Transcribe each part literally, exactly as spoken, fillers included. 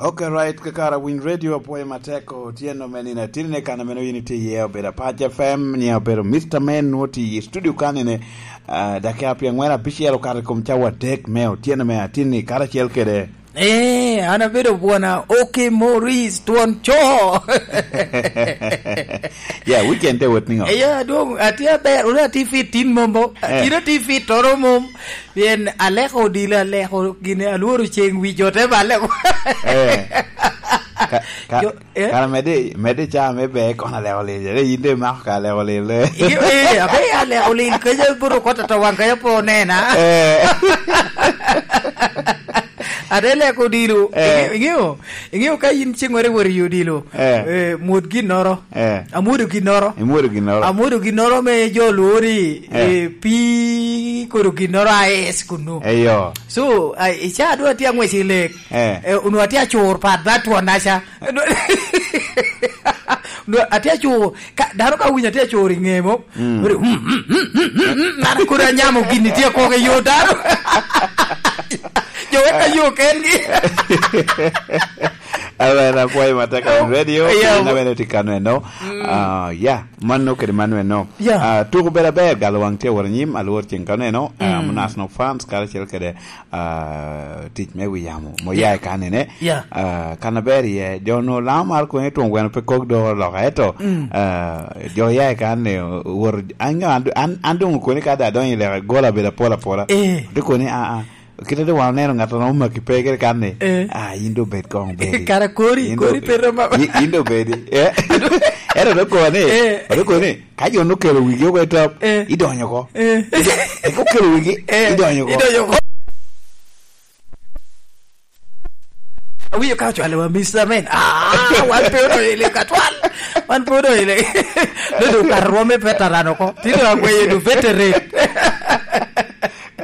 Ok, right, kakara Winy Radio, apwoyo matek otyeno me nino atin ne kan ameno yin itye iye, obedo Apac F M, nye obedo Mister Man, nwo tye i studio kan ine, ah, dakika pye angwen apicel okato i kom cawa adek me otyeno me atin ni karacel kede. Eh, an abedo bwona, Oke Maurice, twon co. Yeah, weekend te wot niŋo? Eh, ya, dong, atye aber, ore atye fit tin momo, Eh. Atye fit toro mom. Pien aleko odilo, aleko gine, alworo ceng wi jo te balle. Eh. Ka, ka, Jo, eh? Kara mede, mede ca me be kono aleko lil, re yin de imako ka aleko lil, eh. Iyo, eh, abe aleko lil, kece buro kota to wang kaya po nena. Eh. Ate leko odilo, Eh. Inge-, ingeyo, ingeyo ka yin cengore wori odilo, Eh. Eh, mwod ginnoro. Eh. Amwodo ginnoro. Imwodo ginnoro. Amwodo ginnoro me jo lwori, Eh. Eh, pi kodo ginnoro a es kunu. Eyo. So, a, i ca dwa tye ang'wec i lek. Eh. Eh, onwo atye acur pat ba twon aca. Onwo atye acur, ka, dano ka winyo atye acur i ngemo. Mm. Ori, mm, mm, mm, mm, mm, mm, man kodi anyamo gini tye kok i yo dano. Jo wek ayo kengi. Amen, apwoyo matek on radio, Yeah. Ina bene tye kano eno. Mm. Ah, yeah, mano kede mano eno. Yeah. Ah, tuko bedo aber, galo wang tye woro nyim, alwor ceng kano eno. Ah, Mm. Munas no fans, karacel kede, ah, tic me wi yamo, mo Yeah. ya i kanene. Yeah. Ah, kan aber iye, jo no lamo mar kone twon gweno pe kok do loka, eto, Mm. Ah, jo ya i kanene, woro, an, an, an, an dong kone ka da donyo i leka, gola bedo apola apola. Eh. Te kone, ah, ah. Kite do wan oneno ŋat a romo maki pe kede kan ni, Eh. Ah, yin do bed koŋ bedi. Kara kori, Yin do, kori pe romo. Yin, yin do bedi. Eh? Ero do koni, Eh. Ero koni, ka jo nokelo wigi oko i top, Eh. Idonyo oko. Eh. Ido-, ka okelo wigi, Eh. Idonyo oko. Idonyo oko. Awinyo ka ocwalo wa, Mister Man. Ah, wan pe odonyo i lek atwal. Wan pe odonyo i lek. Dodo ka rwome veteran oko. Tino agweyo du veteran.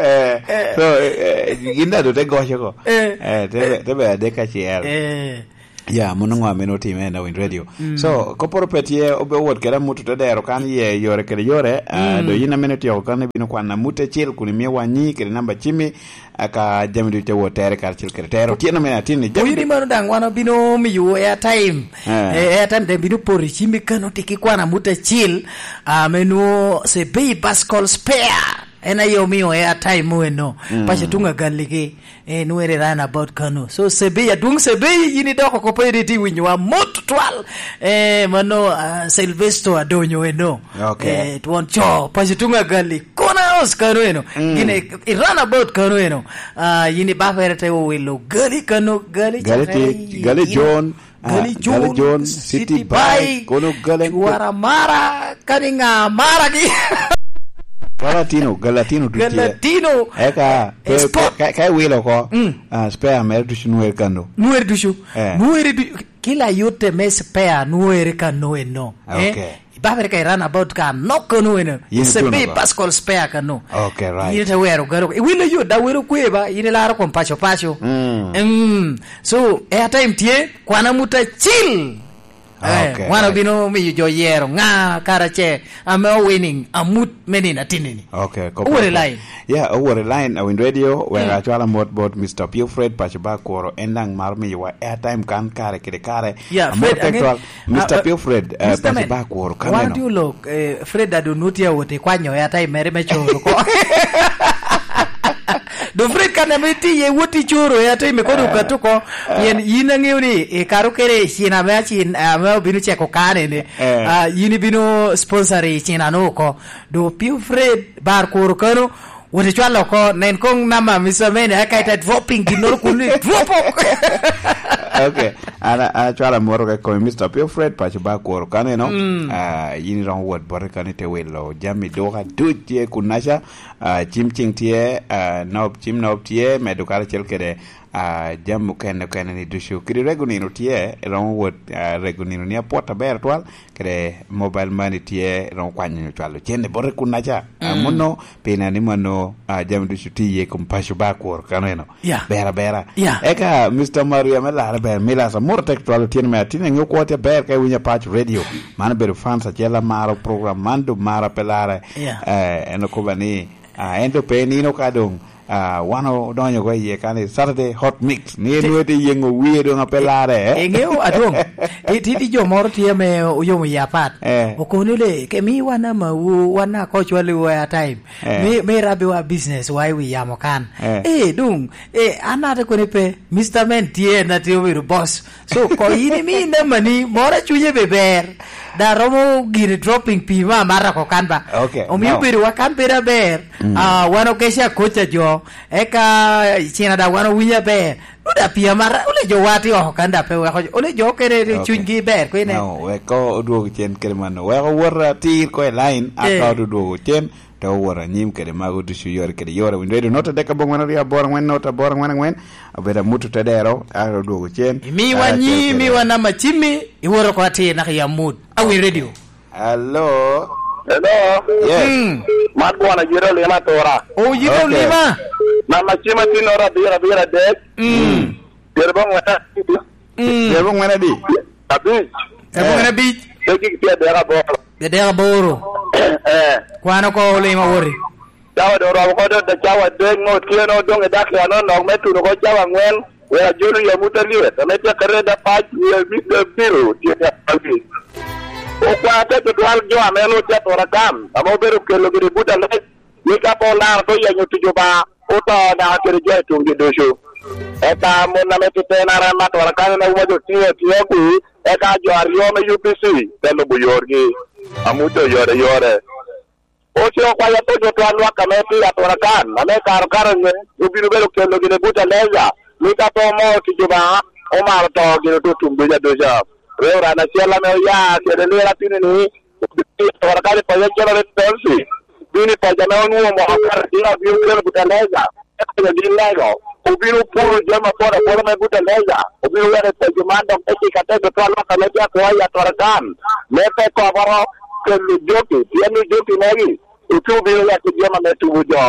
Eh, Eh. So, eh, eh, gin da do te goco ko. Eh. Eh, te be, te be adek kacel. Eh. Ya, mono ŋo ameno otime na Winy Radio. Mm. So, koporo pe tye, obe wot kede amut te dero kan ye yore kede yore. Ah, Mm. Do yin ameno tyeko kan ibino kwan amut acel kun imiyo wanyi kede namba cimi, aka jami ducu te wot tere karacel kede tero. Otyeno mene atin ni jami Oyini mano daŋ wan obino miyo airtime. Eh. Eh, airtime daŋ bino poto i cimi kan otiki kwan amut acel, ah, me nwo Sebei Bascol Spare. En aye omio airtime mo eno. Mm. Paco tuŋ agaligi. Eh, nwere round about kano. So, Sebei, adwoŋ Sebei, yin idoko oko pe iri ti winyowa mot twal. Eh, mano, ah, Sylvester Adonyo eno. Okay. Eh, twon co, paco tuŋ agali. Corner house kano eno. Mm. Gine, i round about kano eno. Ah, yin i bafere te owilo gali kano, gali Gali cakere ti, i, gali yin John. Ah, Gali Gali John, John, City City Bike, Bike, kono Gali Guaramara, kani ŋa mara gi? Galatino, Galatino duc tye. Galatino. Eka, Eh, pe, sport. Pe, ka, ka iwilo oko, Mm. Ah, spare mere ducu nwere kano. Nwere ducu. Eh. Nwere du-, kila yote me spare nwere kano eno. Eh? Okay. Ibabere ka i round about ka nok kano eno. Yin It's a ituno big ko. Pascal spare kano. Okay, right. Yin te wero garo. Iwilo yo da wero kwe ba, yin ilaro kom paco paco. Mm. Mm. So, airtime tye, kwana muta cil. Eh, okay, wan right. Obino miyo jo yero ŋa kara ce ame o winning amut me nino atinini. Okay, ko Owore po- line. Yeah, owore line, Awiny Radio, wek Mm. acwala mot bot Mister Pio Fred, paco ba kuro, en daŋ maro miyowa airtime kan kare kede kare. Yeah, Amor Fred, tek ang'e-, twal, Mister ah, ah, Pio Fred, eh, Mister paco Man, ba kuro, ka wan neno. Tye olok, eh, Fred ado nu tye awot i kwanyo airtime mere me coro ko. Do Fred kan ame tye iye wot i coro airtime kodo Ah. okato ko, pien yin ang'eyo ni i karo kere i cin ame acin, ame obino ceko kane ni, Eh. ah, yin ibino sponsor i cin ano oko. Do Pio Fred bar kuro kano, Wot icwal oko, nen koŋ nama Mister Mene, eka ite dropping ginnoro kun ni drop ok. Okay, an, an acwalo amwoto ka i komi, Mister Pio Fred, paco ba kuro kaneno. Mm. Ah, yin iromo wot bote kani te wilo jami duka duc tye kunnaca. Ah, cim cing tye, ah, nob, cim nob tye, medo karacel kede, ah, jami okene okene ni ducu. Kede rego nino tye, iromo wot, ah, rego nino ni apwot aber twal, kede mobile money tye, romo kwanyo nyo cwalo cente bote kunnaca. Ah, Mm. Muno, pina ni mano, ah, jami ducu tye iye kom paco ba kuro kano eno. Yeah. Ber abera. Yeah. Eka, Mister Maria me Lara ber, Milas, amoro tek twalo tyen me atin, ang'eyo kwo tye ber ka iwinyo Apac Radio. Mano bedo fans acel amaro program man, do mara pe Lara. Yeah. Eh, en okoba ni, ah, en do pe nino ka dong, Ah, wan odonyo oko iye kan i Saturday Hot Mix. Ni enwete yengo wie doŋ ape larre, eh? Iŋeo, Adwoŋ, ti-, ti-, ti jo moro tye ame oyomo yie apat. Eh. Okobo ni le, "Ke mi wan amawu, wan akocwa liwu airtime. Eh. Mi, mi rabbiwa business wa i wi yamo kan." Eh. Eh, doŋ, eh, an ate koni pe, Mister Man tye, en ate obedo boss. So, ko in imi namba ni, moro a cunye be ber. Da romo gini dropping pii ma amata oko kan ba. Ok, omio no. Bedo wa kan bedo aber. Mm. Ah, wan okece akoca jo. Eka cina da wan owinyo aber. Nuda pii amata, ole jo wa ti oko kan da pe weko jo. Ole jo kene ni ok. Cunygi ber, kwene. No, weko odwogo cen kede mano. Weko wot atir ko i line, eh. Aka odwogo cen. Te owot anyim kede mago ducu yore kede yore. Winyo redio not adek abongwen aryo aboro angwen not aboro angwen angwen. Obedo amut otedero, a odwogo cen. Imiwa ah, nyi, cen kede imiwa namba cimmi, iwoto oko atir naka i amut. Awin redio. Hello. Hello. Yes. Mm. Man bwana Yero Lima Tora. O, Yero Lima. Ok. Namba cima tin ora abiro, abiro adek. Mm. Pyero abongwen. Mm. Pyero abongwen adi? Abic. Pyero abongwen abic. Dek gik tye adek aboro. Adek aboro. Eh. Kwan oko Lima woti. Cawa doŋ oromo oko doŋ cawa adek ŋo otyeno doŋ i dakika anonok me tuno oko cawa aŋwen. Wek ajolo yam wot alyet, ame tye ka reda pac, wie mit abiro tye ka pac. Okwa te tutwal jo ame onwoŋo tye atura kan, ame obedo kelo gire but alec, ni ka pe olaro te yenyo tic Obaŋa, oto naka kede jo i tuŋgi ducu. Eka mon ame titena rema atura kan, en auma jo tiŋo atiŋa kwi, eka jo aryo me U P C te lubo yorgi. Amuto yore yore. Oce okwayo apenyo twal lwak ame tye i atura kan, ame karo karo nye, obino bedo kelo gire but Aleja, ni ka pe omo tic Obaŋa, omaro to gire oto tum duc aduca. Reverend acel ame oya kede lwela tini ni, obino i atura kan i paco acel ame Tonsi, obino i paco ame onwoŋo moko kare tye abino kelo but Aleja. Eka jo gin lego, obino puro jami apol apol ame but Aleja, obino weko i paco man dok te cika te tutwal lwak ame tye akwo i atora kan, me pe koboro kelo joki, pien ni joki magi, ocu obino weko jami ame tubo jo.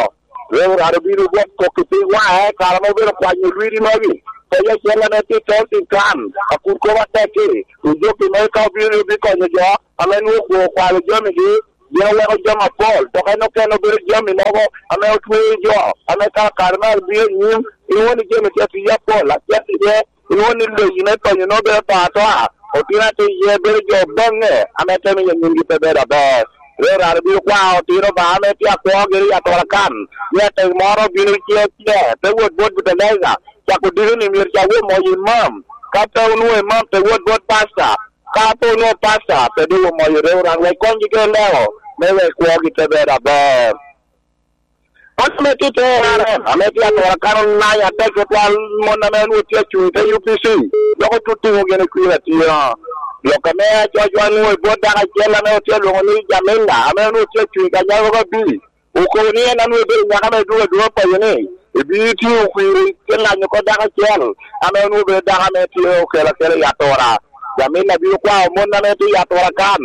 Reverend obino gwok kok i piny waŋe, kare ame obedo kwanyo lwidi magi, paco acel ame tye i Toltin kan, akur kop atek-ki, ojoki magi ka obino ni obikonyo jo, ame nwoŋo okwo okwalo jamigi, gin oweko jami apol, dok en okene obedo jami mogo ame otweyo jo, ame ka kare me abino anyim, inwoŋo ni jami tye atiye apol, acel iye, inwoŋo ni leyi me penyo nwoŋo bedo to atoa, otino atiye bedo jo baŋe, ame te miyo nyimgi pe bedo aber. Ryo rare bino kwao otino Obaŋa ame tye akwo giri i atora kan, ni atek moro obino ce ce, te wot bot Budaneca, cako diko ni myero ca wot moyo imam, ka pe onwoŋo imam, te wot bot pasta, ka pe onwoŋo pasta, pe doŋ omoyo rew ran wek konygi kede leo, me wek kwogi te bedo aber. Ot ame tye i te R R M, ame tye atura kan onanyo atek tutwal mon ame onwoŋo tye acuŋ i te U P C, dok otutuŋo gin i kwir atira. Lok ame acocwa nwoŋo i bot dako acel ame otye alwoŋo ni Jamila, ame onwoŋo tye acuŋ i kanyago ka bi, okobo ni en a nwoŋo ebedo nyako ame dwogo adwoga paco ni, ebino tye okwiri te lanyo oko dako acel, ame onwoŋo bedo dako ame tye okelo akela i atura. Jamila bino kwao mon ame tye i atura kan,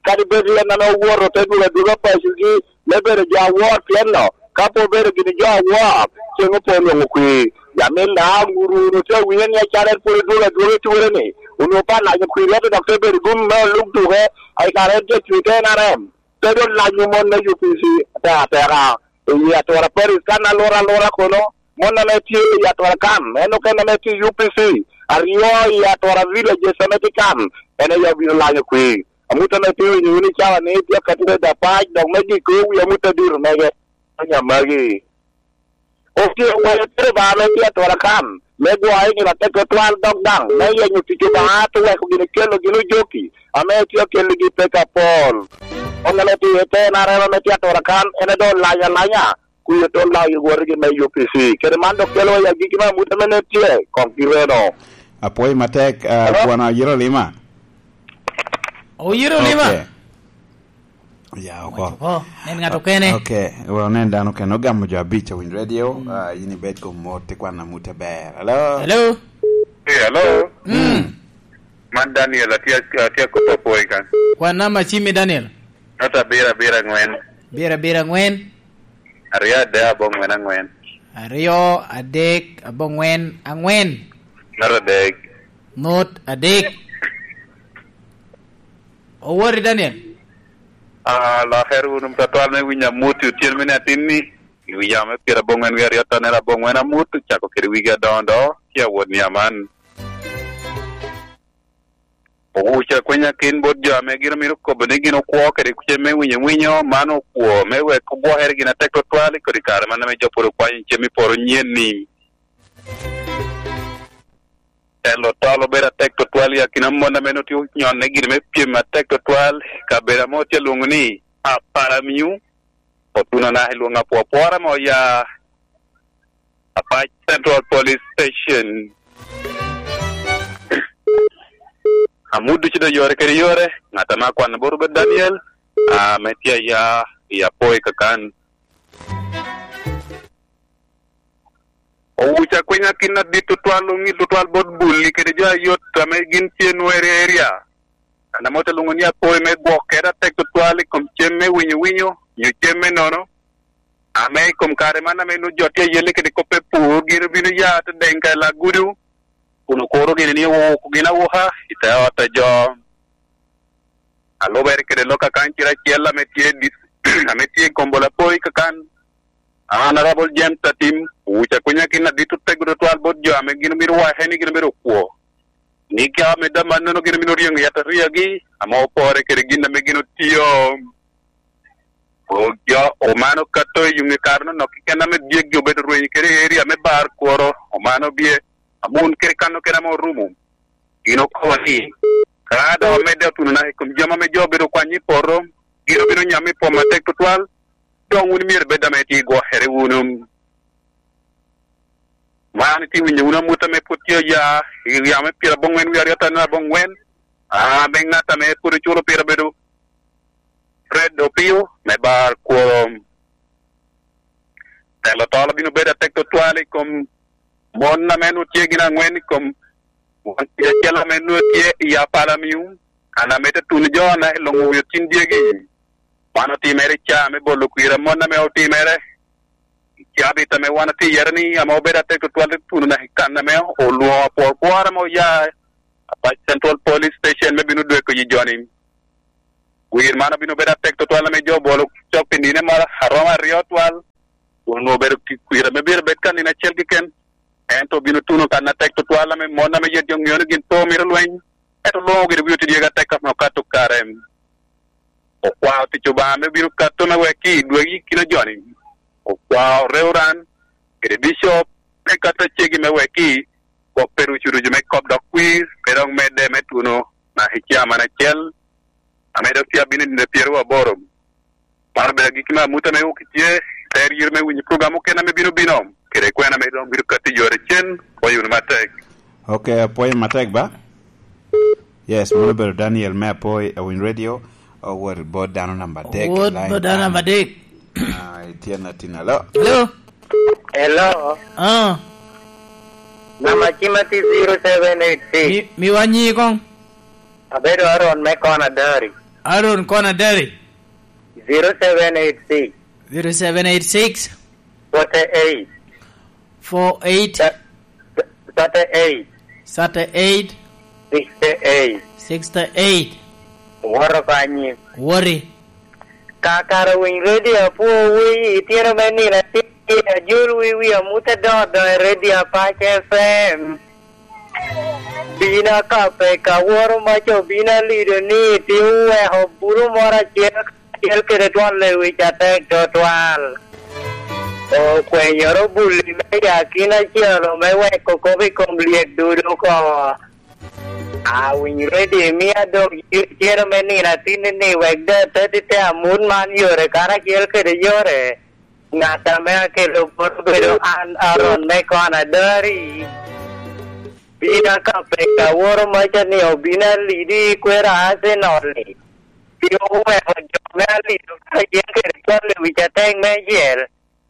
kadi bed en ame owoto te dwogo adwoga pacogi, me bedo jo awor, pien lo, ka pe obedo gini jo awor, ceŋ opo onwoŋo kwir. Jamila, wun, wun otye awinyo ni acalo en pwod odwogo adwoga i ture-ni, onwoŋo pe alanyo kwir, ento dok te bedo gum me oluk duke, a i kare en tye cuny te N R M. Te doŋ lanyo mon me U P C ateka ateka. I atura Paris kan alura alura kono, mon ame tye i atura kan, en okene ame tye i U P C, aryo i atura villages ame tye kan, en aye obino lanyo kwir. Amut ame tye winyo wun i cawa ni tye akati me dapac, dok me giko wi amut adito mege, onya magi. Otye okwayo tero ba ame tye atura kan, me gwoyo i nino atek tutwal dok daŋ, me yenyo tic Obaŋa, te weko gin kelo gin ojoki, ame tye okeligi peko apol. Mon ame tye i te N R M ame tye atura kan, en adoŋ olanyo alanya, kuyo te olanyo wotigi me U P C. Kede man dok kelo i agikki me amut ame nen tye, kong kireno. Apwoyo matek, ah, Hello? Bwana Oyiro Lima. Oyiro Lima? Ok. Oya oko. Waco oko. Nen ng'ato kene. Ok, well, nen dano kene. Ogamo jo abic awinyo radio, mm, ah, in ibed kom mot, ikwan amut aber. Hello? Hello? Hey, hello? Mm. Man Daniel, atye, atye akobo apwoyo kan. Kwan namba cimmi, Daniel. Not abiro abiro angwen. Abiro abiro angwen. Aryo adek abongwen angwen. Aryo adek abongwen angwen. Not adek. Not adek. Owori, Daniel? Ah, lakere wunu twatwal me winyo amut i otyeno mene atin-ni. I wi yam me pyerabongwen wie aryo tonere abongwen amut, ocako kede wigi adoŋo doŋo, tye awot ni aman. Owuca kwenya kin bot jo ame gin omito kobo ni gin okwo kede cem me winyo winyo, man okwo me wek ogwokere gin atek tutwal i kodi kare man ame jo pwod okwanyo cem i poro nyen ni. Telo tol obedo atek tutwal i akina mon ame nongo tye onyonne gin me pyem atek tutwal i kabedo ame otye alwoŋo ni Aparamiu, otuno naka i lwoŋo apwopwora ame oya Apac Central Police Station. Amut ducu doŋ yore kede yore, ŋat ame akwano bot Rubert Daniel, ame tye aya i Apoi kakan. Owuca kwenya kin adit tutwal, oŋil tutwal bot Bulli kede jo ayot ame gin tye nwo area area. Kan ame ote lwoŋo ni Apoi me gwok kede atek tutwal i kom cem me winyo winyo, nyo cem me nono, ame i kom kare man ame nwo jo tye ayelle kede kop me pur, gin obino ya te deŋ ka i Lagudu, kun okuro gini ni owoko gin awoka i te ot a jo. Alubere kede lok akan cire acel ame tye i dis-, ame tye i kombo Lapoi kakan, Honorable James Atim, owuca kwenya kin adit otego tutwal bot jo ame gin obino wake ni gin obedo okwo. Ni ka ame dam mannono gin obino ryeŋo yataria gi, ame opore kede gin ame gin otio. O jo, omano kato i yuŋe kare no nok keken ame dyegi obedo rweny kede area me bar kworo, omano bye, amun kede kano kede ame orumo. Gin okobo ni, ka doŋ omedde otuno naka i kom jami ame jo obedo kwanyo i poto, gin obino nyamo i pwom atek tutwal, doŋ wun myero ibed ame tye i gwokere wunu. Man itye winyo wunu amut ame pwod tye oya i yamo me pyerabongwen wie aryo atanno abongwen, ame ŋat ame pwod oculo pire obedo Fred Opio me bar Kworom. Telo tol obino bedo atek tutwal i kom mon ame nwoŋo tye gin aŋwen i kom won kidi acel ame nwoŋo tye i Apalamiu, kan ame te tuno jo naka i luŋo wi otin dyegi. Man otimere i caa me bolo kwir a mon ame otimere i cabit ame wan otye iye ni ame obedo atek tutwal i tuno naka i kan ame olwoŋo apwor kwor ame oya Apac Central Police Station me bino dweko yi joni. Wir man obino bedo atek tutwal ame jo obolo cok pi nino moro aromo aryo twal, kun onwoŋo obedo ki kwir ame myero bed ka nino acel keken, ento obino tuno kan atek tutwal ame mon ame yet jo ŋeo ni gin pe omito lweny, ento luŋo gire wi oti dyegi atek ame okato kare. Okwao tic Obaŋa ame obino kato me wek ki dwegi kino joni. Okwao Reverend kede Bishop me kato acegi me wek ki gwok pe rucu rucu me kop dok kwir pe dok medde me tuno naka i caa man acel, ame dok tye abino i nino pyeraryo aboro. Man obedo agikki me amut ame wok itye, te ryero me winyo program okene ame bino bino, kede kwena ame dok bino katti yore cen, pwoyo wunu matek. Ok, apwoyo matek ba? Yes, mano obedo Daniel me Apoi, Awiny Radio, owot bot dano namba adek. Owot bot dano namba adek. Ah, itye na tin, alo? Hello? Hello? Ah. Namba cima tye zero seven eight six. Mi-, miwa nyi kong. Abedo Aaron me Kona Dari. Aaron Kona Dari. Zero seven eight six. Zero seven eight six. Forty-eight. Four eight. Thirty-eight. Thirty-eight. Sixty-eight. Sixty-eight. Woro kanyi. Wori. Kakara winy redio apwo wi itino me nino atir ajol wi wi amute dodo i redio Apac F M. Bino akape ka woro maca obino alido ni ti oweko bulu moro acel acel kede twon lewic atek tutwal. Okwenyoro buli me yakina acel me weko kop i kom lyek dudu oko. Awiny ready mia dok yero cero me nino atinni ni wek de atati te amut man yore karacel kede yore. Ŋat ame akelo bot obedo an Aaron me Kona Dari. Bino ka peka woro maca ni obino alidi i kwero Arsenal-li. Pi oweko jo me alido karacel kede cwal lewic atek me acel.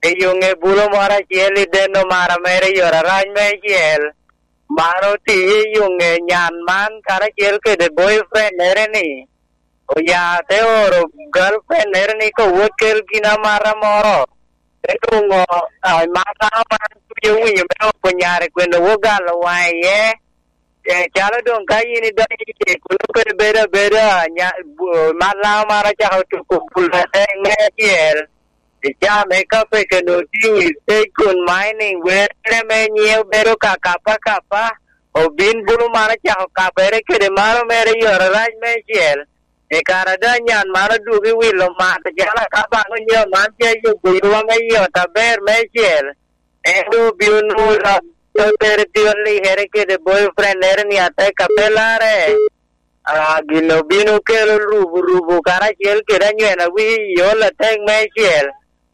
I yo ŋe bulo moro acel i deno mara mere i yore arac me acel. Man otiye i yo ŋe nyan man karacel kede boyfriend-nere-ni. Oya te oro girlfriend-nere-ni ka owot kel gin amata moro. Te nwoŋo, ah, i man dano man tye owinyo me oko nyare kwene owot galo waŋe iye. Eh, calo doŋ ka in idonyo i cik, kono pe ibedo abeda, nya-, bu-, man dano man ocako tuko bul atek me acel. I caa me kape keno tye i stage kun mining, were me nyiŋe obedo ka kapa kapa, obin bulu man ocako kapere kede mano mere i oro rac meicel. I kare a doŋ anyan man odwogo i wilo mato calo akabaŋ onyo man tye yubo yub ame i ot aber meicel, en doŋ obino nwoŋo lok totere tye olikere kede boyfriend-nere ni atek apelarre. Ah, gin obino kelo rubu rubu karacel kede anywena wii i ot atek meicel,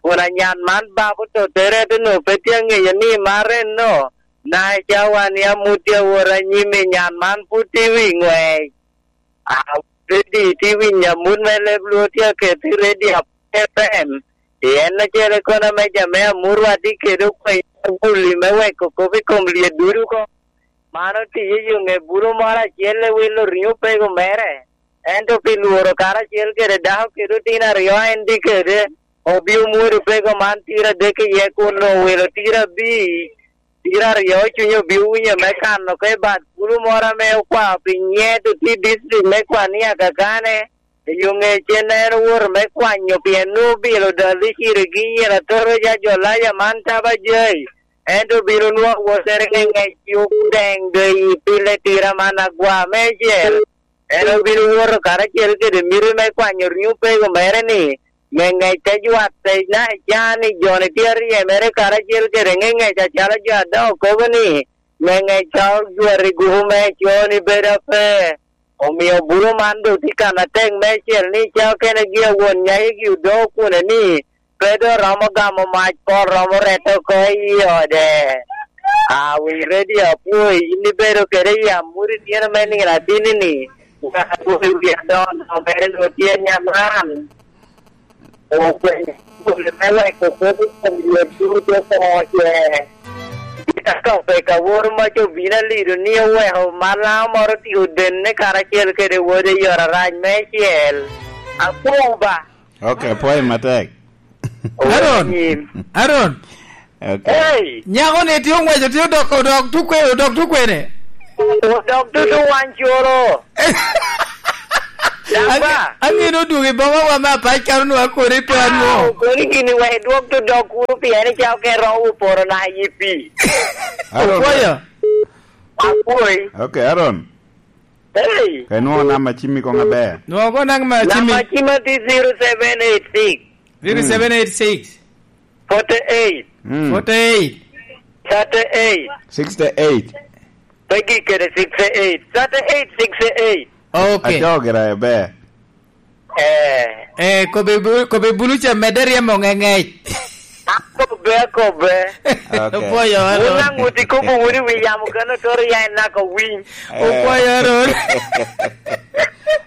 kun anyan man babo totere ento onwoŋo pe tye aŋeyo ni marre no, na i cawa ni amut tye awot anyim i nyan man pud tye i wi ŋwec. Ah, ready tye i wi nyamut me leb Lwor tye aket i ready F M. Pien acel i kona me jami ame amurwa tye kede okwenyo aguli me weko kop i kom lyet ducu oko. Man otiyo i yo ŋe bulu moro acel i wilo riŋo pego mere. Ento pi lworo karacel kede dako kede otino aryo en tye kede, obio mwodo pego man tira adek iye kun owilo tira abii. Tira aryo cuny obio winyo me kano oko i bad bulu moro ame okwao pi nyiet otye i district me Kwania kakane. I yo ŋe cen en owoto me kwanyo pien nwoŋo bilo dal i ciregi i Nyira Toro ja Jolaya man taba jai. Ento obino nwoŋo awottere ŋeŋec yub deŋ doŋ i pile tira man agwa meicel. En obino woto karacel kede miti me kwanyo riŋo pego mere ni, ŋeŋec te jwatte na i caa ni jo-ni tye aryemere karacel kede ŋeŋec acalo jo a doŋ okobo ni, ŋeŋec ka ojwati gupu me co ni bedo ape. Omio bulu man doŋ tye kan atek meicel ni ca okene gi awon nyayigi odoŋo kune ni pe doŋ romo gamo mac, pot romo rette oko i ode. Awiny redio apwoi, in ibedo kede i amut i tyeno me nino atini-ni, wek adwok i wi adoŋo mere doŋ tye nyaman. Okwenyo kuli me weko kop i kom yot ducu oko ce. Gin a Topeka woro mac obino alido ni oweko Malam moro tye odenne karacel kede wode i ot arac meicel. Akwoŋ ba. Ok, apwoyo matek. Aaron, Aaron. Ok. Hey! Nyako ni tye ong'weco, tye odok, odok tukwe, odok tukwene. Odok tutu wan coro. Damba. Ang'e ni odwogo i boma wa me apac kano nwa kore pe anwo. Ah, okoni gini wek idwok to dok kuro pien icao ka iromo oporo na i pi. Aaron. Opwoyo. Apwoyi. Ok, Aaron. Hey. Ka inwoŋo namba cimmi koŋ aber. Nwoŋo koŋ namba cimmi. Namba cimma tye zero seven eight six. Zero seven eight six. Forty-eight. Mm. Forty-eight. Thirty-eight. Sixty-eight. Pe gik kede sixty-eight. Thirty-eight, sixty-eight. Ok. Acoo gira ebe. Eh. Eh, kobe bu-, kobe bulu ca medde ryemo ŋeŋec. Akobe, akobe. Ok. Opwoyo, Aaron. Wun aŋut ikobo wunu i wi yamo kano toro ya en naka winy. Eh. Opwoyo, Aaron.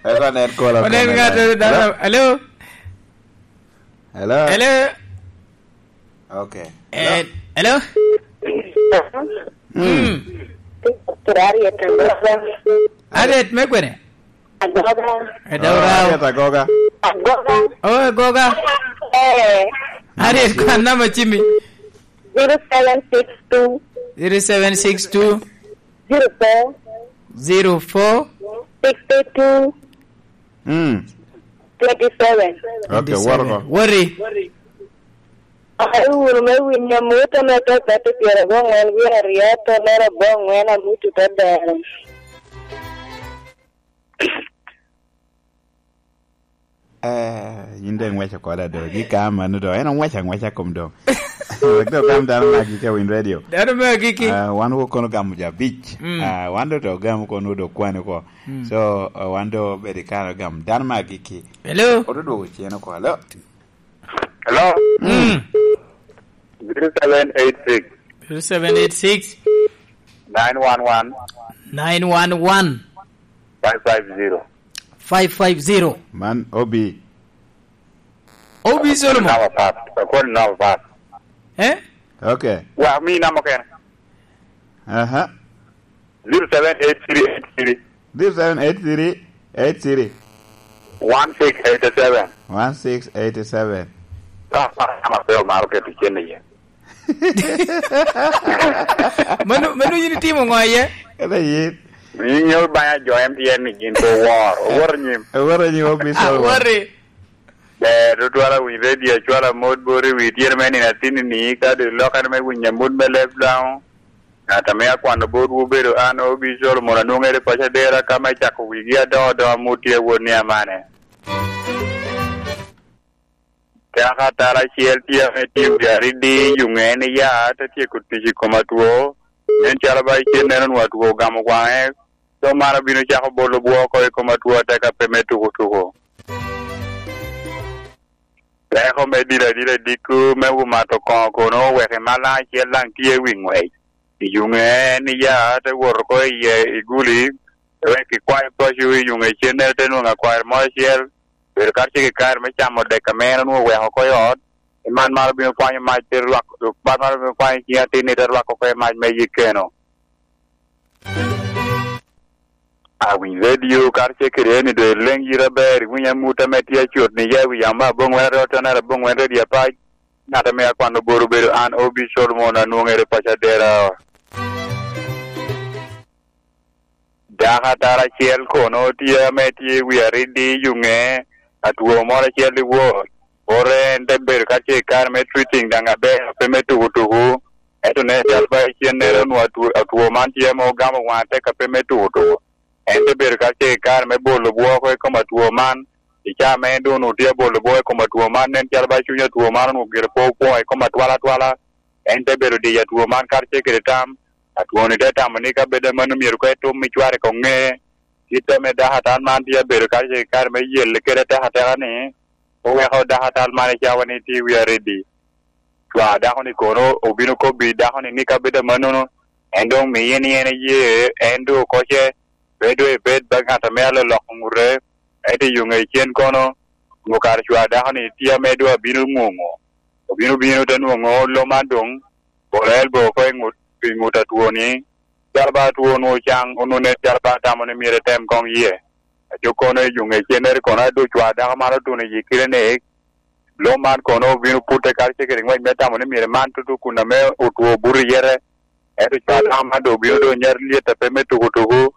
Eko nen kola. Onen kome ŋat, ŋat. Hello? Hello? Hello? Hello? Okay. Eh, hello? Mm. Mm. Harriet Agoga. Harriet me kwene? Agoga. Eh, Daura. Oh, Harriet Agoga. Agoga. Oh, Agoga. Eh. Harriet, kwan namba cimmi. Zero seven six two. Zero seven six two. Zero four. Zero four. Sixty-two. Mm. Twenty-seven. Okay, twenty-seven. Wot oko. Wori. Ayo wunu me winyo amut ame tye apate pyerabongwen wie aryo, to mere abongwen amut ote dero. Eh, yin dong iŋweco koda do, gi ka mano do, en oŋweco aŋweca kom do. Wek do gam dano me agikki a Win Radio. Dano me agikki. Ah, wan wok kono gamo jo abic. Mm. Ah, wan do to gamo kono do kwane ko. Mm. So, ah, wan do bedo i kare gamo dano me agikki. Hello? Oto dwogo cen oko, hello? Hello? Mm. Zero seven eight six. Zero seven eight six. Nine one one. Nine one one. Five five zero. Five five zero. Man, O B. O B Solomon. Namba pat. Akwani namba pat. Eh? Okay. Wa, mi namba kene. Aha. Zero seven eight three eight three. Zero seven eight three eight three. One six eight seven. One six eight seven. Ka, ka, ka, ma pe omaro keto cen iye. Mano, mano yin itimo ŋo iye? Kata yin. Yin nyo banya jo M T N ni gin pe owor. Owor nyim. Owor nyim, office. Ah, owor. Owor. Ber tutwal awiny redio acwalo amot bot i wi tyero me nino atinni-ni, ka doŋ ilokere me winyo amut me leb Laŋo. Ŋat ame akwano botwu obedo an, Obi Solomon, anwoŋere i paco Adera, ka me cako wigi adoŋo adoŋa amut tye awot ni amane. Dako atara acel tye ame tye i wi aridi i yuŋe ni ya, te tyeko tic i kom atwo. Nen calo ba icennere onwoŋo atwo ogamo waŋe, so man obino cako bolo bwo oko i kom atwo atek ape me tuko tuko. Teko me dilo adila i dikku me omato koŋo kono oweko i mal daŋ acel daŋ tye i wi ŋwec. I yuŋe en iya, te wot oko iye i guli, wek ikwayo paco i yuŋe icennere te nwoŋo akwari mo acel, bedo karacel i kare me camo dek ame en onwoŋo oweko oko i ot, i man man obino kwanyo mac te lwak, man man obino kwanyo ciŋ atin-ni te lwak oko i mac me yik keno. Awiny redio karacel kede en i doŋ ileŋ yit aber, iwiny amut ame tye acut ni ya i wi yamo me aboŋwen aryo otonnere aboŋwen redio apac, ŋat ame akwano bor obedo an, Obi Solomon, anwoŋere i paco Adera. Dako atara acel kono tye ame tye i wi aridi i yuŋe, atwo moro acel i wot. Ore en te bedo karacel i kare me treating daŋ aber, pe me tuku tuku. Ento nen cal ba icennere onwoŋo atwo, atwo man tye ame ogamo waŋe atek ape me tuku tuku. En te bedo karacel i kare me bolo bwo oko i kom atwo man. I caa me en doŋ onwoŋo tye abolo bwo i kom atwo man, nen calo ba cuny atwo man onwoŋo gire pe opwoŋo i kom atwala atwala. En te bedo diyo atwo man karacel kede tam. Atwo-ni te tamo ni ka bed amanno myero koŋ etum i cware koŋ ŋe. Kit ame dako atan man tye abedo karacel i kare me yelle kede atekateka-ni, oweko dako atan man i cawa-ni tye i wi aridi. Cwa dako-ni kono obino kobbi dako-ni ni ka bed amannono, en doŋ miye ni en eye, en doŋ okoce, pe doŋ ebed ba ŋat ame aloloko ŋute, ento i yo ŋe cen kono, onwoŋo kare cwa dako-ni tye ame doŋ abino ŋuŋo. Obino bino te nwoŋo lo man doŋ, bolo elbo oko i ŋut, i ŋut atwo-ni, calo ba atwo onwoŋo caŋ, onwoŋo nen calo ba atamo ni myero etem koŋ yie. Aco kono i yuŋe cennere kono a doŋ cwa dako man otuno i yi kilinik, lo man kono obino putte karacel kede ŋwec me tamo ni myero man tutu kun ame otwo obuto i yete. Ento cwa dako man doŋ obino doŋ nyat lyet ape me tuku tuku,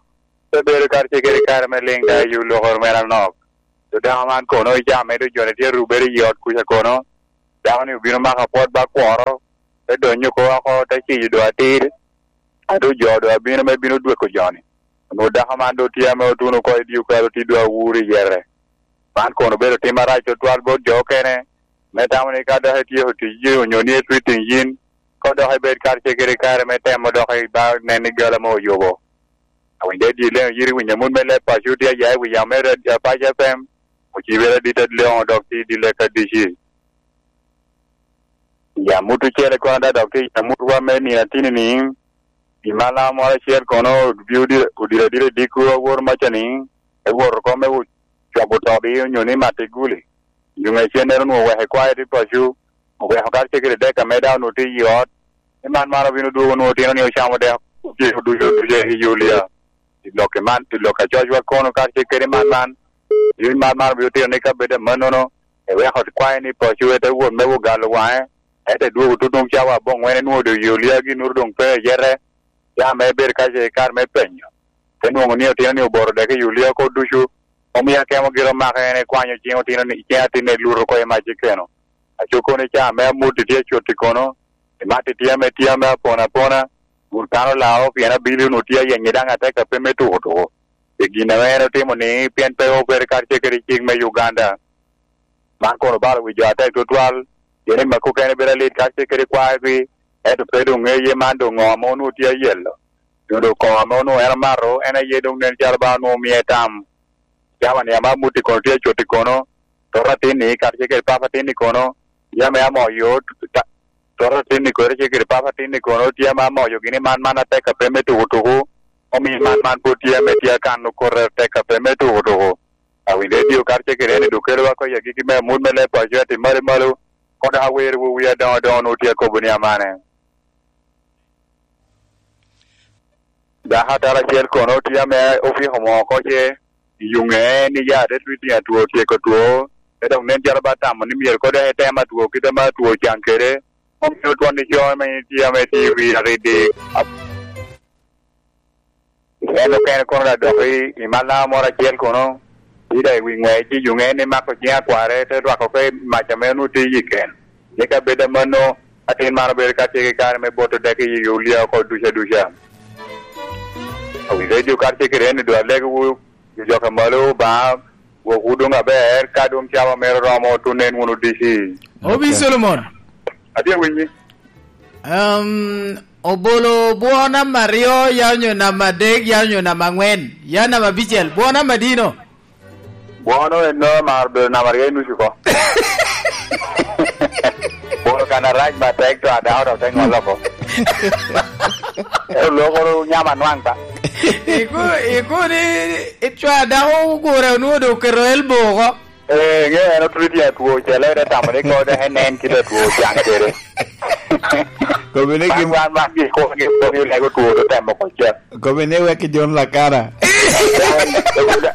te bedo karacel kede kare me liŋ da i olokoro mere anok. Dako man kono i caa me doŋ jone tye rubere i ot kuca kono, dako-ni obino mako apwot ba kworo, te donyo oko oko, te ciyo doŋ atir, a doŋ jo doŋ abino me bino dweko jo-ni. Onwoŋo dako man doŋ tye ame otuno oko i dye okalo tye doŋ awuro i yete. Man kono obedo tim arac tutwal bot jo okene, me tamo ni ka dok ityeko ticci onyo ni itwitting yin, koŋ dok ibed karacel kede kare me temo dok iba nen ni gala mo oyubo. Awinyo dye leŋo yiri winyo amut me leb paco tye aya i wi yamo me radio Apac F M, ocibere adit adleŋo dok tye i dye leka D C. I amut ocele kono da dok tye i amutwa me nino atini-ni, i malaŋo moro acel kono odiro adira i dikku awor maca-ni, ewot oko me cwabo tobi onyo ni mato i guli. Yuŋ acennere onwoŋo oweko i kwayo tye paco, oweko karacel kede dek ame daŋ onwoŋo tye i ot, ni man man obino dwogo onwoŋo otino ni ocamo dek, ociko ducu ducu i Yulia. I lok man, i lok a cocwa kono karacel kede man man, i man man obino tino ni ka bed amannono, eweko kwayo ni paco ete wot me ogalo waŋe, ete dwogo tutuŋ cawa aboŋwen enwoŋo doŋ Yulia ginuru doŋ pe eyete, ya me bedo karacel i kare me penyo. Te nwoŋo ni otino ni oboro dek i Yulia oko ducu, omio akemo gire omako en ekwanyo ciŋ otino ni, ciŋ atin eluto oko i mac i keno. Aco kono i caa me amut itye acut i kono, imat itye ame tye ame apona apona, kun kan olao pien abili onwoŋo tye ayenye daŋ atek ape me tuko tuko. Pi gin ame en otimo ni, pien pe obere karacel kede cik me Uganda. Man kono obalo wi jo atek tutwal, pien i maki okene bedo alit karacel kede kwayogi, ento pe doŋ ŋeye man doŋ ŋo ame onwoŋo tye ayelo. Nyo doŋ koŋo ame onwoŋo en omato, en aye doŋ nen calo ba onwoŋo omie tam. Cawa-ni ame amut i kono tye acut i kono, toto atin-ni karacel kede papa atin i kono, tye ame amoyo, ta-, toto atin-ni kono tye kede papa atin i kono, tye ame amoyo gini man man atek ape me tuku tuku, omio man man pwod tye ame tye akano kore atek ape me tuku tuku. Awinyo redio karacel kede en i dok kelowa oko i agikki me amut me leb paco atim malo malo, kono dok awerowu wi adoŋo adoŋo onwoŋo tye akobo ni amane. Dako atara acel kono tye ame ofiko moo oko ce i yuŋe ni ya te twi tyen atwo tyeko two, te dok nen calo ba tamo ni myero kodo etem atwo kit ame atwo ocaŋ kede, omio twon ico ame tye ame tye i wi aridi. En okene kono da dok i, i malaŋa moro acel kono, Ida i wi ŋwec i yuŋe ni mako ciŋ akware, te rwako oko i mac ame onwoŋo tye i ken. Ni ka bed amanno, atin man obedo ka tye ki kare me boto dek i Yulia oko duca duca. Wi redio karce kede en i dwal legiwu, jo ka malo Obaŋa, wokwu doŋ aber, ka doŋ cawa mere oromo, tunen wunu D C. Obi Solomon. Atye winyi. Um, obolo bwo namba aryo, ya onyo namba adek, ya onyo namba angwen, ya namba abicel, bwo namba dino? Bwono en no mar bedo namba aryo i nucu ko. Bwono kan arac matek to adako to te ŋolo ko. Ero lokoro nyama nwaŋ ta. Iku-, ikuni, icwa dako ogure onwoŋo doŋ oketo elbow oko. Eh, ŋe en otwero tye atwo, cele ere tamo ni kode en nen kit atwo ocaŋ kede. Kobe ni gin wan, wan, wan, gin kok, gin kok, gin lego two, to temo kocel. Kobe ni wek i John Lakana.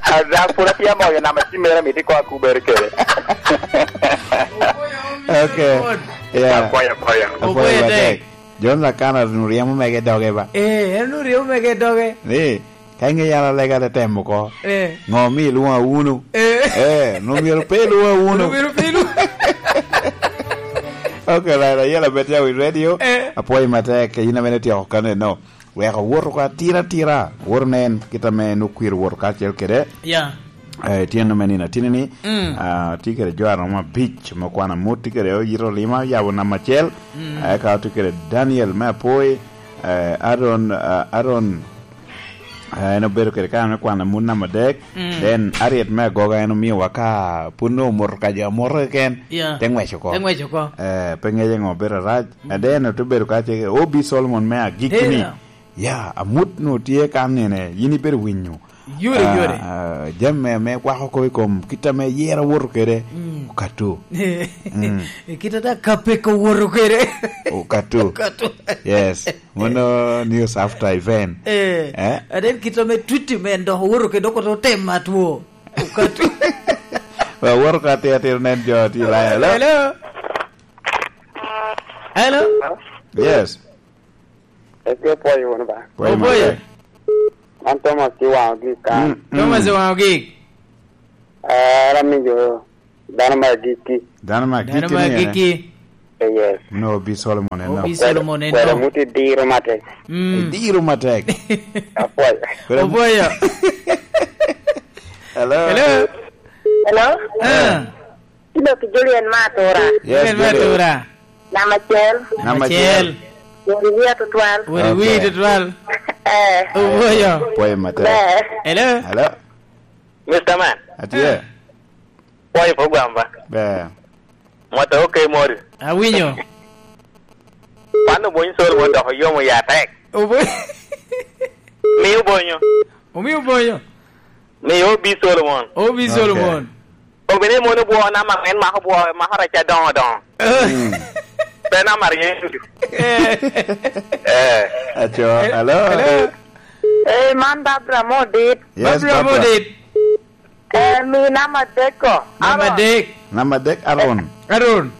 Ada, pwod atye amoyo nama ci mere miti ko akubere kede. Okay. Yeah. Apoya, apoya. Apoya Apoya matek. Tek. John Lakana nu ryemo mege doge ba. Eh, en nu ryemo mege doge. Ni, ka inge yara lega te temo ko. Eh. Ngo mi ilwoŋa wunu? Eh. Eh, nu myero pe ilwoŋa wunu? Nu myero pe ilwoŋa? Okay, right, ayela bet ya wi radio. Eh. Apoya matek, in amene tyeko kane no. Wek owoto ka tira tira. Woto nen, kit ame en okwiro woto kacel kede. Yeah. Eh, tyen me nino atini ni, mm, ah, tye kede jo aromo abic me kwan amut, tye kede oyito lima, yabo namba acel. Mm. Eh, ka tye kede Daniel me Apoi, eh, Aaron, ah, Aaron, eh, en obedo kede kare me kwan amut namba adek. Mm. Then Ariet me Agoga en omiowa ka pud nongo omoto ka jo amoto keken, yeah, te ngwec oko. Te ngwec oko. Eh, pe ngece ngo obedo arac. Mm. And then ote bedo ka ce O B Solomon me agikki ni. Yeah. Ya, amut nu tye kan nene, yin ibedo winyo. Yore, ah, yore. Ah, jami me, me kwako kop i kom kit ame yera woto kede. Mm. Okato. Mm. Kit ame kapeka woto kede. Okato. Okato. Yes. Mono news after event. Eh. Eh? And then kit ame Twitter men dok owoto kede, dok otem atwo. Okato. Well, woto ka tye, tye nen jo tye live. Hello? Hello? Hello? Yes. Eke pwoyo wunu ba. Pwoyo. Opwoyo. Matek. Man Thomas Iwaŋo Gik kan. Mm, mm. Thomas Iwaŋo Gik. Eh, ara mijo dano me agikki. Dano me agikki. Dano me agikki. Eh, yes. No, Obi Solomon en no. Obi Solomon en no. Kwero muti diro matek. Mm. Diro matek. Apwoyo. Kwero mu- Opwoyo. Hello. Hello. Hello? Ah. Kidok ki Julian me Atura. Yes, Julian me Atura. Namba acel. Namba acel. Weri wiya tutwal. Weri wiya tutwal. Eh. Owoyo. Pwoyo matek. Ber. Hello? Hello? Mister Man. Atye. Ah. Pwoyo program ba. Ber. Mwata oke mori. Awinyo. Pan obonyo Solomon dok oyomo ya tek. Obo- Mi obonyo. Omi obonyo. Mi Obi Solomon. Obi Solomon. Okay. Obine mono bwo na ma en mako bwo, mako raca doŋo doŋo. Mm. Pe na mar Yecu. Eh. Eh. Aco, hello. Hello. Eh, man Barbara Modit. Yes, Barbara Barbara. Modit. Eh, mi namba adek ko. Namba adek. Namba adek, Aaron. Aaron.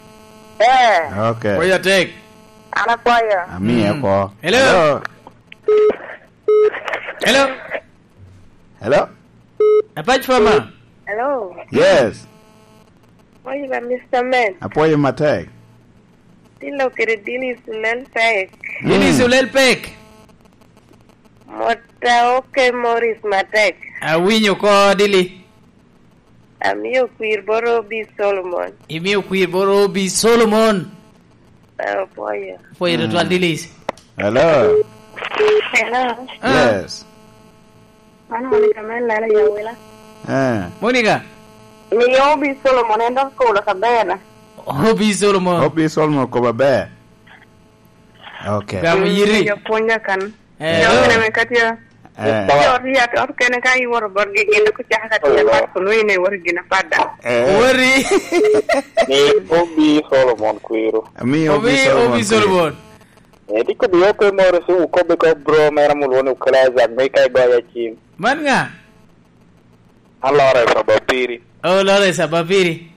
Eh. Okay. Pwoyo atek. An apwoyo. Ami, mm, eko. Hello. Hello. Hello. Hello? Apac Farmer. Hello. Yes. Apwoyo ba, Mister Man. Apwoyo matek. Tilo kede Dili Sulel Pek. Dili, mm, Sulel Pek. Mota oke Morris matek. Awinyo ko, Dili. Amio kwir boro Obi Solomon. Imio kwir boro Obi Solomon. Apwoyo. Pwoyo tutwal, mm, Dilis. Hello. Hello. Ah. Yes. Mano Monica me Lala i Awila. Eh. Monica. Miyo Obi Solomon en dok kolo kabela. Obi Solomon. Obi Solomon kobo aber. Okay. Gamo yiri. Mm, jo pwonya kan. Eh. Jo kene me katya. Eh. Ot yat, ot kene ka iworo botgi gin dok ocako ka tiyo pat kun wine iworo gin apat da. Eh. Wori. Mi Obi Solomon kwero. Mi Obi, Obi Solomon Obi kwero. Solomon. Eh, diko bi oke moro si wukobbe ko bro mera mulwone ukela Isaac me ka igoya cim. Man nga? An Lawrence Abapiri. Oh, Lawrence Abapiri.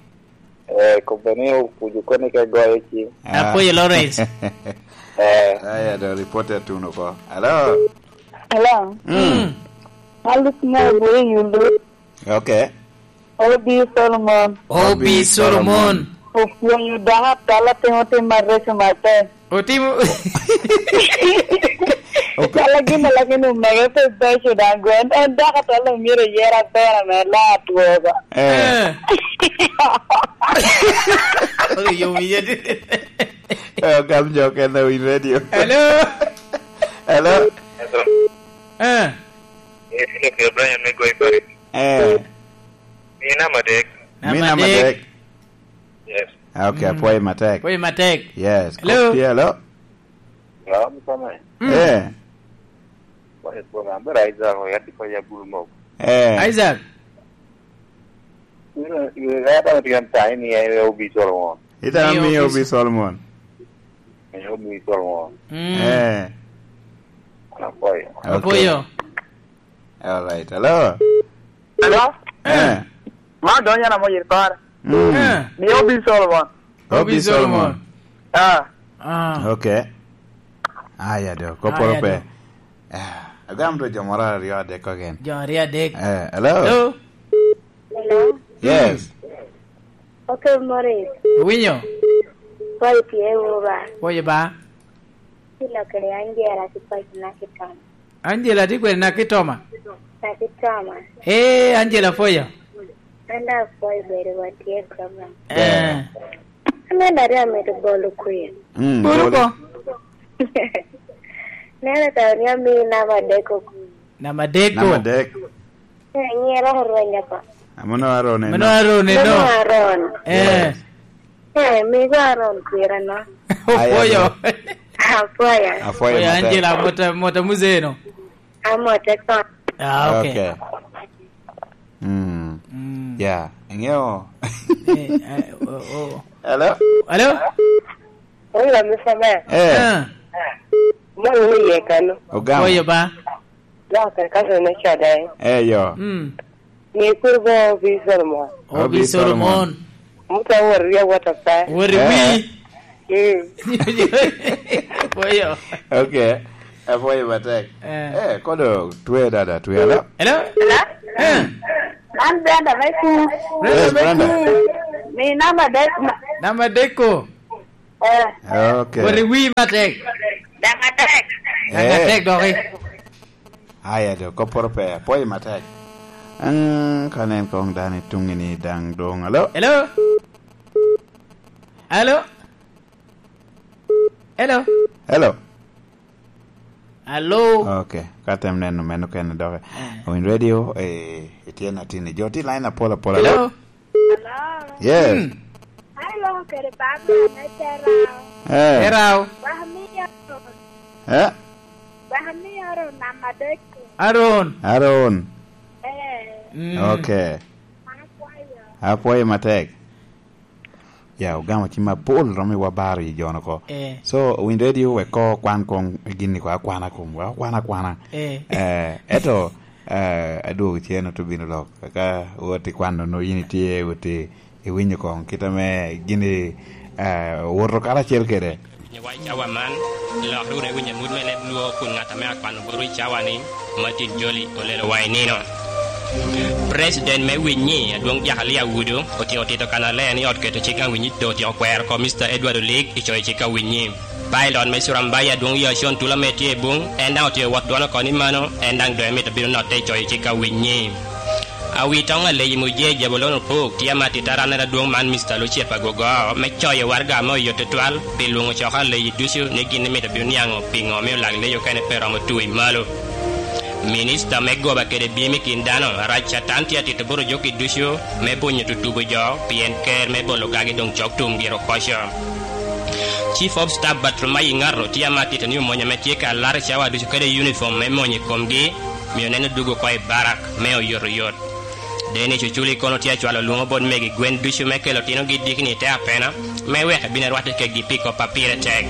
Eh, kobbe ni opuco koni ka igoyo cim. Ah. Apwoyo Lawrence. Eh. Aya, do report atuno ko. Hello? Hello? Mm. Mm. Alice Nyago i Yulu. Okay. Obi Solomon. Obi Solomon. Opwonyo dako atol atimo tim areco matek. Otimo. Calo gin a lagin omege pe beco daŋ gwen. En dako atol omyero eyere aber ame laa atwogo. Eh. Eh. Oyo wiye. Eh, ogam jo okene owiny radio. Hello. Hello. Eh. Eh, Philip Ibrahim me Goy Paris. Eh. Mi namba adek. Mi namba adek. Yes. Ah, okay, apwoyo matek. Apwoyo matek. Yes. Hello? Kop tye, hello? Hello, Mr. Man. Mm. Eh. Apwoyo, apwoyo, Amber Isaac, oya tye kony abulu mok. Eh. Isaac. Ira, ira, ira, ira, ira, ira, ira, Obi Solomon. Ita mi Obi Solomon. Mi Obi Solomon. Mm. Eh. Apwoyo. Okay. Apwoyo. All right. Hello? Hello? Eh. Ma donyo na mo yir kore. Mm. Eh. Mi Obi Solomon. Obi Obi Solomon. Solomon. Ah. Ah. Okay. Aya do, koporo Aya pe. Do. Ah, agam do jo moro aryo adek kogen. Jo aryo adek. Eh, hello? Hello? Hello? Yes. Mm. Okay, Morris. Owinyo? Pwoyo tye wu ba? Pwoyo ba? Kilo kede Angela ki paco na ki Tom. Angela tye kwede naki Toma? Naki Toma. Ee, Angela, apwoyo. An daŋ apwoyo bedo wa tye i program. Eh. Ber. An daŋ daŋ amito bolo kwir. Mm, bolo bolo. Ko. Neno ka ni ami namba adek ko kwir. Namba adek ko. Namba adek. Eh, nyiero orweny apa. Amono Aron eno. Amono Aron eno. Amono Aron. Eh. Yes. Eh, migo Aron kwira no. Apwoyo. Apwoyo. Apwoyo, Angela, mota, mota muzeno. Amote kon. Ah, okay. Okay. Mm. Mm. Yeah, ingeo. Eh, eh, oh, oh. Hello? Hello? Oyo, Mister Man. Eh. Ah. Mo ni ye kano. Ogamo. Oyo ba. Dok akakato ne coda, eh. Eh, yo. Mm. Ni kur bo Obi Solomon. Obi Obi Solomon. Solomon. Muto wot ri awot apa. Wot i wi. Eh. Mm. Apwoyo. Okay. Apwoyo matek. Eh. Eh, kodo twe dada, twe, hello? Hello? Hello? Eh. An Brenda me Kum. Brenda. Yes, me Brenda. Kum. Mi namba dek ma. Namba dek ko. Eh. Okay. Wot i wi matek. Daŋ atek. Daŋ atek doki. Aya do, kopporo pe, apwoyo matek. Aŋ, ka nen koŋ dano i tuŋi ni daŋ doŋ. Alo? Hello? Alo? Hello? Hello? Alo? Okay, ka tem neno meno kene doki. Eh. Owiny radio, eh, itye na tini. Jo tye line apol apol. Hello? Alo? Hello? Yes. Hmm. Ai, loko kede Barbara me Terao. Eh. Terao. Wek mi Aron. Eh? Wek mi Aron namba adek. Aron. Aron. Eh. Mm. Okay. An apwoyo. Apwoyo matek. Ya, ogamo cim apol, romo i wa baro i jo-nu oko. Eh. So, owiny radio wek ko kwan kong gin-ni ko akwana kom, wek okwan akwana. Eh. Eh, eto, eh, adwogo cen oto bino lok, ka wot i kwano no in itye, wot i, iwinyo kong kit ame gin-ni, eh, owoto karacel kede. Nyo wa i cawa man, lok wunu iwiny amut me leb Lwo kun ŋat ame akwano botwu i cawa-ni, Martin Jolly, olelo wa i nino. President me Winyi, Adwoŋ Jakalia Wudo, otyeko tito kannaler ni ot keto cik a Winyi doŋ otyeko kwero oko Mister Edward Olik i coyo cik a Winyi. Pilot me Curambayi, Adwoŋ Yacon Tula ame tye i buŋ, en daŋ otyeko wot dwon oko ni mano, en daŋ doŋ emito bino notte i coyo cik a Winyi. Awitoŋ Aleyi Muje Jabulon Opok tye ame atito arannere adwoŋ man Mister Lucifer Agogo me coyo waraga ame oyot tutwal pi lwoŋo coko Aleyi ducu ni gin imito bino niaŋo piŋo omio lak Leyi okene pe romo tu i malo. Minista me goba kede bim i kin dano, Arac Catan tye atito bot ojoki ducu me bunyo tutubo jo, pien ker me bolo gagi doŋ cok tum gire okoco. Chief of Staff Batrumayi Ŋato tye ame atito ni omony ame tye ka laro i cawa ducu kede unifom me mony i komgi, mio neno dwogo oko i barak me oyotoyot. Dennis Oculi kono tye acwalo lwoŋo bot megi gwen ducu me kelo otinogi dikni i te apena, me wek ebin erwatte kedgi pi kop a pire tek.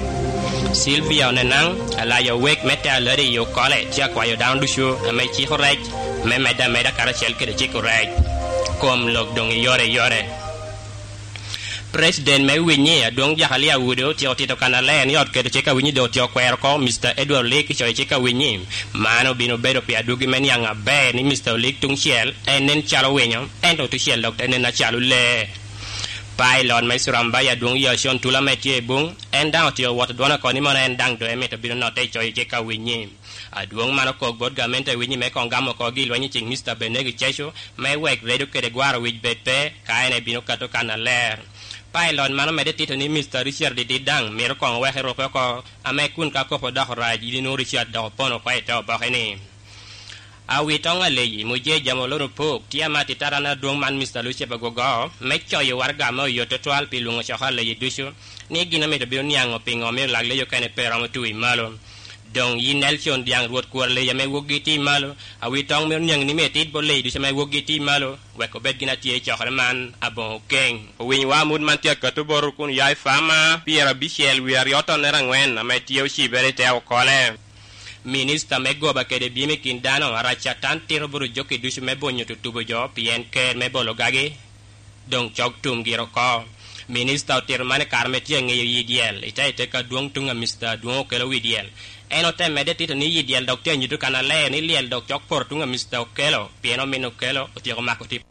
Sylvia Onenaŋ, alayo wek me te aladi i Okole, tye akwayo dano ducu ame ciko rec, me medde ameda karacel kede ciko rec. Kom lok doŋ i yore i yore. President me Winyi, Adwoŋ Jakalia Awudo, otyeko tito kannaler ni ot keto cik a Winyi doŋ otyeko kwero oko Mister Edward Olik i coyo cik a Winyi. Man obino bedo pi adwogi me niaŋ aber ni Mister Olik tuŋ cel en nen calo winyo, ento tuŋ cel dok te nen acalo lee. Pailot me Surambaya, Adwoŋ Yacon Tula ame tye i Buŋ, en daŋ otyeko woto dwone oko ni mono en daŋ doŋ emito bino notte i coyo cik a Winyi. Adwoŋ man okok bot gamente a Winyi me koŋ gamo oko gi lweny i ceŋ Mister Benegi Cecu, me wek redo kede gwaro wic bed pe, ka en ebino kato kannaler. Pailot man omedde tito ni Mister Richard Didid daŋ myero koŋ wek erupe oko, ame kun ka kop odoko rac, yin inwoŋo Richard dok opono oko i te oboke-ni. Awitoŋ Aleyi, Muje Jamolon Opok, tye ame atitara ni adwoŋ man Mister Lucifer Gogo, me coyo waraga ame oyot tutwal pi lwoŋo coko Aleyi ducu, ni gin omito bino niaŋo piŋo omio lak leyi okene pe romo tu i malo. Doŋ yin Nelson Dyaŋ Rwot Kwor Leyi ame wokgi tye i malo, awitoŋ myero niaŋ ni myero itit bot leyi ducu ame wokgi tye i malo, wek obed gin atye i cokere man aboŋo keŋ. Owinywa amut man tye akato botwu kun ya i Fama pyerabicel wie aryo tonnere aŋwen ame tye ocibere i te okole. Minista me goba kede byem i kin dano, Arac Catan, tito bot ojokki ducu me bonyo tutubo jo, pien ker me bolo gagi doŋ cok tum gire oko. Minista otito man i kare ame tye aŋeyo yi dyel, i te i teka adwoŋ tuŋ a Mister Adwoŋ okelo wi dyel. En ote medde tito ni yi dyel dok tye anyuto kannaler ni lyel dok cok poto tuŋ a Mister Okelo, pien omin Okelo otyeko mako tip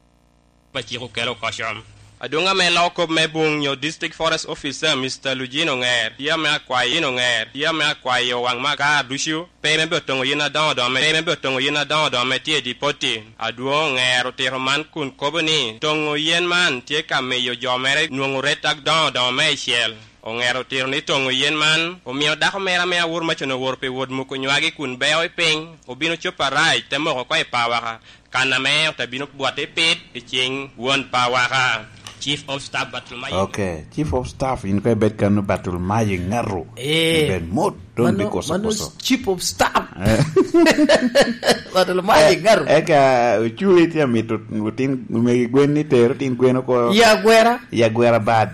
a cik Okelo oko con. Adwoŋ ame loko kop me Buŋ nyo District Forest Officer, Mister Lujin Oŋer, tye ame akwayo yin Oŋer, tye ame akwayo waŋ makar ducu, pe me bot toŋo yen adoŋo doŋ ame, pe me bot toŋo yen adoŋo doŋ ame tye i Dipoti. Adwoŋ Oŋer otito man kun kobo ni, toŋo yen man tye ka miyo jo mere nwoŋo ret adoŋo doŋo meicel. Oŋer otito ni toŋo yen man omio dako mere ame awor macon oworo pi wot muko nywagi kun beo i piny, obino copo arac, te moko oko i pawaka, kan ame ote bino bwote i pit i ciŋ won pawaka. Chief of Staff Bartolomeo. Okay, Chief of Staff, in ko ibed kano Bartolomeo Ŋaru. Eh. Ibed mot, don't be koso koso. Chief of Staff. Eh. Bartolomeo Ŋaru. Eka, oculi tye amito, otin, omegi gwen ni tero, tin gwen oko. Ya gwera. Ya gwera bad.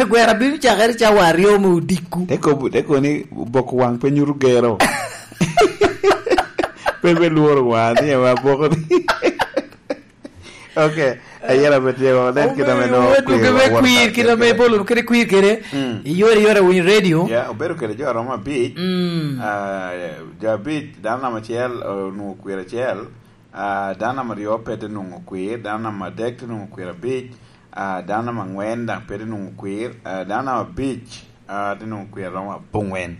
Gwera bino cakere cawa aryo me odiko. Te kobo, te koni boko waŋ pe nyuto gero. Pe, pe lworo wa, ni wa boko ni. Okay, ayera pe tye, wa nen kit ame no. Obedo kwir, me kwir, kit ame ibolo kede kwir kede. Mm. Iyore, iyore winy radio. Ya, obedo kede jo aromo abic. Mm. Ah, jo abic, dano namba acel, onwoŋo kwir acel. Ah, dano namba aryo pe te nwoŋo kwir, dano namba adek te nwoŋo kwir abic, ah, dano namba angwen daŋ pe te nwoŋo kwir, ah, dano namba abic, ah, te nwoŋo kwir aromo abongwen.